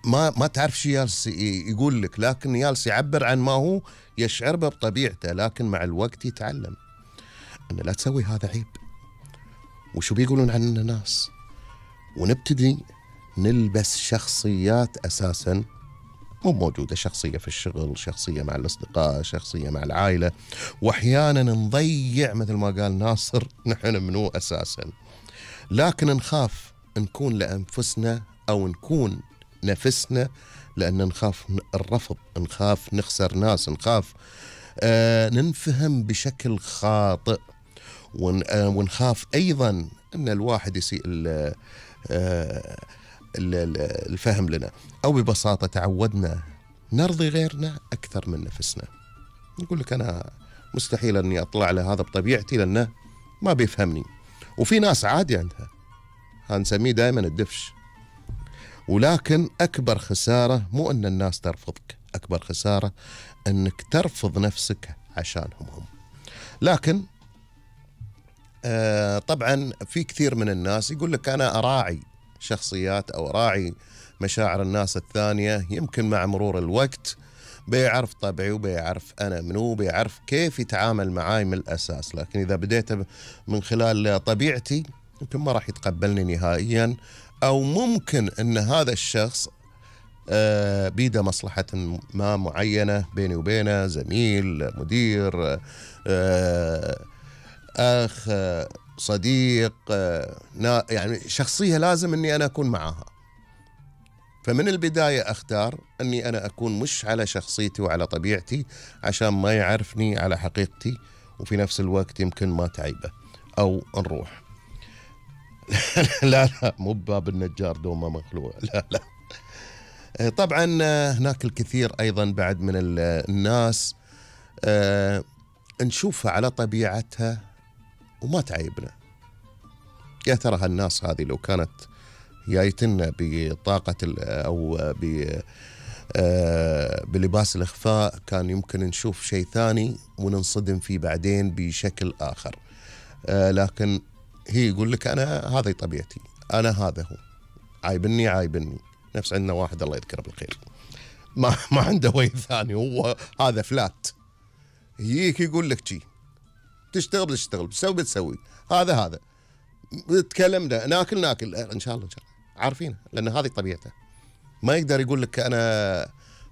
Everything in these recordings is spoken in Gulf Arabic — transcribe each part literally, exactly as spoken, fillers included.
ما ما تعرف شو يالس يقول لك، لكن يالس يعبر عن ما هو يشعر به بطبيعته، لكن مع الوقت يتعلم أن لا تسوي هذا عيب، وشو بيقولون عننا الناس، ونبتدي نلبس شخصيات أساساً مو موجودة، شخصية في الشغل، شخصية مع الأصدقاء، شخصية مع العائلة، وأحياناً نضيع مثل ما قال ناصر نحن منو أساساً، لكن نخاف نكون لأنفسنا أو نكون نفسنا، لأن نخاف الرفض، نخاف نخسر ناس، نخاف آه ننفهم بشكل خاطئ، ون آه ونخاف أيضا أن الواحد يسيء آه الفهم لنا، أو ببساطة تعودنا نرضي غيرنا أكثر من نفسنا. يقول لك أنا مستحيل أني أطلع له هذا بطبيعتي لأنه ما بيفهمني، وفي ناس عادي عندها، هنسميه دائما الدفش. ولكن أكبر خسارة مو أن الناس ترفضك، أكبر خسارة أنك ترفض نفسك عشانهم هم. لكن آه طبعا في كثير من الناس يقول لك أنا أراعي شخصيات أو أراعي مشاعر الناس الثانية، يمكن مع مرور الوقت بيعرف طبعي وبيعرف أنا منو، بيعرف كيف يتعامل معاي من الأساس. لكن إذا بديت من خلال طبيعتي يمكن ما راح يتقبلني نهائيا، أو ممكن أن هذا الشخص آه بيده مصلحة ما معينة بيني وبينه، زميل، مدير، آه أخ، آه صديق، آه يعني شخصية لازم أني أنا أكون معها. فمن البداية أختار أني أنا أكون مش على شخصيتي وعلى طبيعتي عشان ما يعرفني على حقيقتي، وفي نفس الوقت يمكن ما تعيبه أو نروح. لا لا مو بباب النجار دوما مخلوع، لا لا. طبعا هناك الكثير أيضا بعد من الناس آه نشوفها على طبيعتها وما تعيبنا. يا ترى هالناس هذه لو كانت جايتنا بطاقة أو ب آه بلباس الإخفاء كان يمكن نشوف شيء ثاني وننصدم فيه بعدين بشكل آخر. آه لكن هي يقول لك أنا هذه طبيعتي، أنا هذا هو، عايبني عايبني. نفس عندنا واحد الله يذكره بالخير ما ما عنده وجه ثاني، هو هذا فلات، يجيك يقول لك شي تشتغل بتشتغل، بتسوي بتسوي، هذا هذا تكلم ده ناكل ناكل إن شاء الله إن شاء الله عارفينه، لأن هذه طبيعته. ما يقدر يقول لك أنا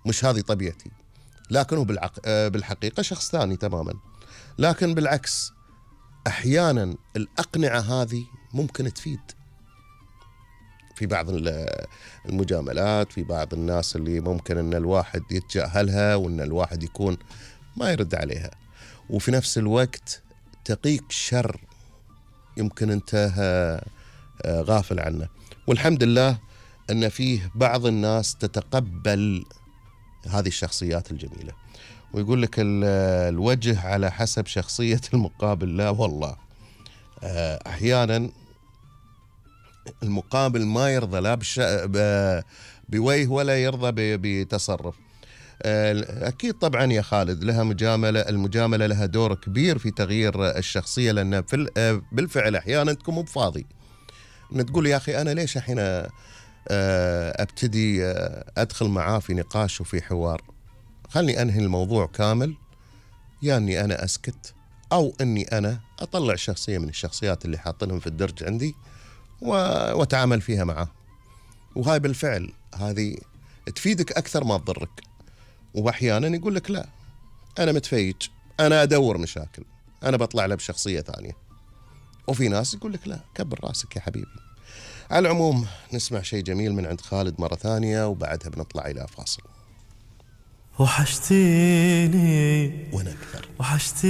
مش هذه طبيعتي، لكن هو بالعق... بالحقيقة شخص ثاني تماما. لكن بالعكس أحيانا الأقنعة هذه ممكن تفيد في بعض المجاملات، في بعض الناس اللي ممكن أن الواحد يتجاهلها وأن الواحد يكون ما يرد عليها، وفي نفس الوقت تقيك شر يمكن أنت غافل عنه. والحمد لله أن فيه بعض الناس تتقبل هذه الشخصيات الجميلة، ويقول لك الوجه على حسب شخصية المقابل. لا والله أحيانا المقابل ما يرضى لا بش... بوجه ولا يرضى بتصرف. أكيد طبعا يا خالد لها مجاملة، المجاملة لها دور كبير في تغيير الشخصية، لأن في بالفعل أحيانا تكون مو بفاضي إن تقول يا أخي أنا ليش الحين أبتدي أدخل معاه في نقاش وفي حوار، خلني أنهي الموضوع كامل، يا أني أنا أسكت أو أني أنا أطلع شخصية من الشخصيات اللي حاطنهم في الدرج عندي وأتعامل فيها معه. وهاي بالفعل هذه تفيدك أكثر ما تضرك. وأحيانا يقول لك لا أنا متفيج، أنا أدور مشاكل، أنا بطلع له بشخصية ثانية. وفي ناس يقول لك لا كبر راسك يا حبيبي. على العموم نسمع شيء جميل من عند خالد مرة ثانية وبعدها بنطلع إلى فاصل. وحشتيني وأنا أكثر وحشتيني